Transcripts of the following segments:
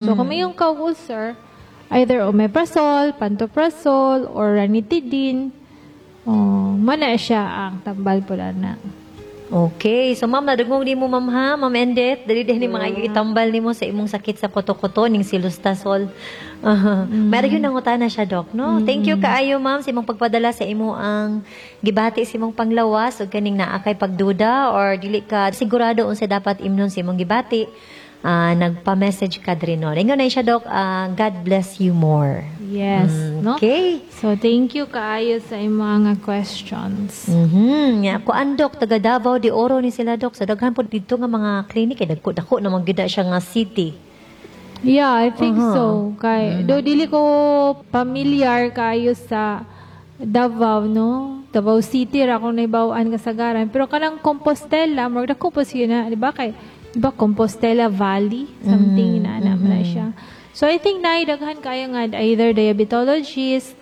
So, kung may yung kag ulcer, either omeprazole, pantoprazole, or ranitidine, oh, mana siya ang tambal pula na. Okay. So, ma'am, nadugmong di mo, ma'am, ha? Ma'am Endet, dali din ni mga itambal nimo sa imong sakit sa kuto-kuto, ning cilostazol. Meron yun nangutana siya, Doc, no? Thank you kaayo, ma'am, sa imong pagpadala sa imo ang gibati sa imong panglawas ug kaning naa kay pagduda or dili ka sigurado unsa dapat imnon sa imong gibati. Nagpa-message ka diri, no. Ingon na siya, Doc, God bless you more. Yes, no? Okay. So, thank you kaayo sa imong mga questions. Ya, kuan, Dok, taga Davao de Oro ni sila, Dok. Sa daghan po dito nga mga clinic eh, dagko dako naman gyud na siya nga city. Yeah, I think so. Kay do dili ko familiar kayo sa Davao, no? Davao City ra akong nahibaw-an kasagaran. Pero kanang Compostela, murag dako po siya na, di ba? Kay, di ba Compostela Valley? Something na na, na siya. So I think na daghan kayo nga either diabetologist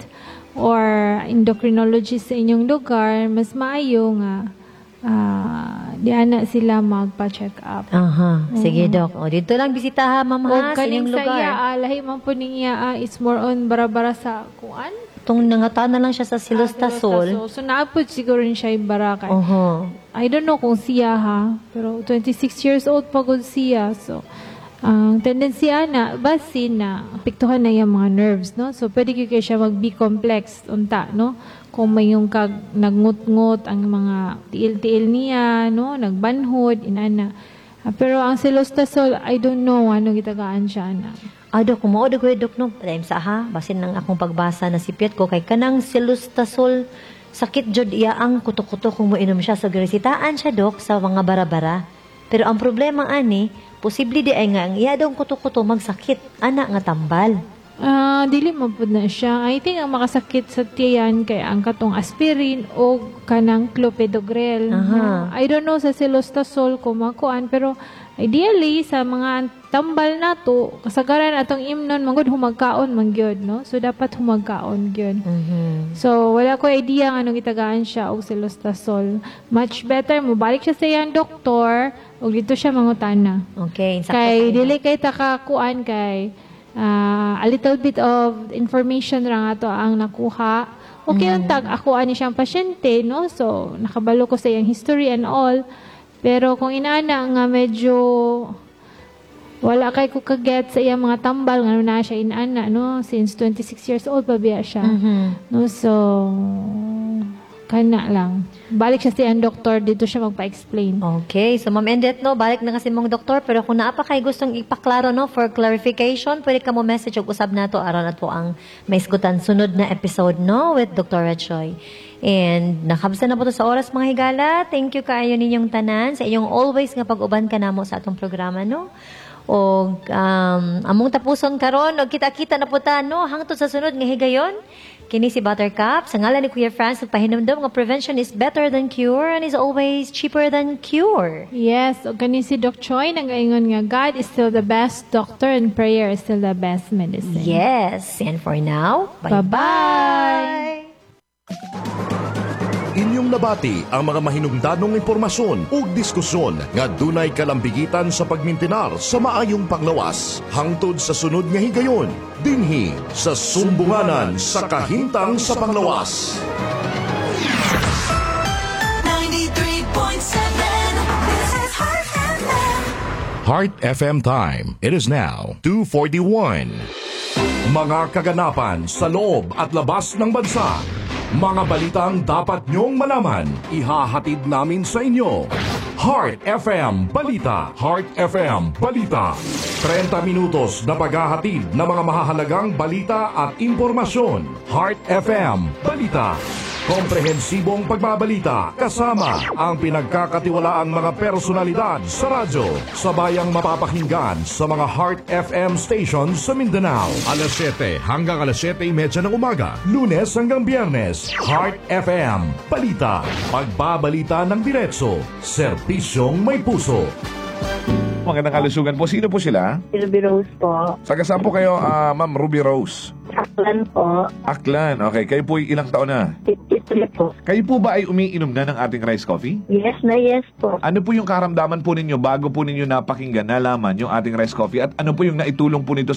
or endocrinologist sa inyong lugar, mas maayo nga di ana sila magpa-check up. Aha. Sige, Dok. O, dito lang bisitaha, ma'am, O ha, sa kaning inyong sa lugar. iya, lahi man po ning iya, it's more on bara-bara sa kuan. Itong nangutana lang siya sa cilostazol. So, naapod siguro ni siya yung bara kay. I don't know kung siya ha, pero 26 years old pa gud siya. So, ang tendency ana basin na apektuhan na yung mga nerves, no? So, pwede gyud kay siya mag B complex unta, no? Kung may yung kag nagngut-ngut ang mga tiil-tiil niya, no? Nagbanhod, inana. Pero ang cilostazol, I don't know ano gitagaan siya na. Dok, kung mao ko, Dok, no? Time sa ha, basin ng akong pagbasa na sipyat ko kay kanang cilostazol, sakit jud iya ang kuto-kuto kung moinom siya. So, giresitaan siya, Dok, sa mga bara-bara. Pero ang problema ani, posible di ay nga ang iya daw kuto-kuto magsakit ana nga tambal. Dili man pud na siya. I think ang makasakit sa tiyan kay ang katong aspirin o kanang clopidogrel. No? I don't know sa cilostazol kung makuan, pero ideally sa mga tambal nato kasagaran atong imnon manggod humagkaon man gyud, no? So dapat humagkaon gyud. So wala ko idea nga anong gitagaan siya og cilostazol. Much better mo balik siya sa iyang doktor ug dito siya mangutana. Okay, sakto Kay kayo. Dili kay takakuan kay a little bit of information ra nga to ang nakuha. Okay, untag ako ani siyang pasyente, no? So nakabalo ko sa iyang history and all. Pero kung inana nga medyo wala kay ko kaget sa iyang mga tambal ngano na siya inana, no, since 26 years old pa biya siya. No, so kana lang. Balik siya sa iyang doktor, dito siya magpa-explain. Okay, so Ma'am Endet, no, balik na kasi mong doktor, pero kung naa pa kay gustong ipaklaro, no, for clarification, pwede ka mo message og usab nato aron at po ang maisgutan sunod na episode, no, with Dr. Choi. And nakabsa na po to sa oras, mga higala. Thank you kaayo ninyong tanan sa inyong always nga pag-uban kanamo sa atong programa, no. Og among tapuson karon og kita-kita na po ta, no, hangtod sa sunod nga higayon. Kini si Buttercup sa ngalan ni Kuya Franz, pahinumdom nga prevention is better than cure and is always cheaper than cure. Yes, ug kani si Doc Choi nagaingon nga God is still the best doctor and prayer is still the best medicine. Yes, and for now, Bye-bye. Inyong nabati ang mga mahinungdanong impormasyon ug diskusyon nga dunay kalambigitan sa pagmintinar sa maayong panglawas. Hangtod sa sunod nga higayon, dinhi sa Sumbunganan sa Kahintang sa Panglawas. 93.7. This is Heart FM. Heart FM time. It is now 2:41. Mga kaganapan sa loob at labas ng bansa. Mga balitang dapat nyong malaman. Ihahatid namin sa inyo. Heart FM Balita. Heart FM Balita. 30 minutos na paghahatid ng mga mahahalagang balita at impormasyon. Heart FM Balita. Komprehensibong pagbabalita kasama ang pinagkakatiwalaang mga personalidad sa radyo. Sabayang mapapakinggan sa mga Heart FM stations sa Mindanao. Alas 7 hanggang alas 7:30 ng umaga. Lunes hanggang Biyernes. Heart FM Balita. Pagbabalita ng diretso. Serbisyong may puso. Magandang kalusugan po. Sino po sila? Ruby Rose po. Taga saan po kayo, Ma'am Ruby Rose? Aklan po. Aklan. Okay, kayo po ay ilang taon na? 53 po. Kayo po ba ay umiinom na ng ating rice coffee? Yes na yes po. Ano po yung karamdaman po ninyo bago po ninyo napakinggan, nalaman yung ating rice coffee at ano po yung naitulong po nito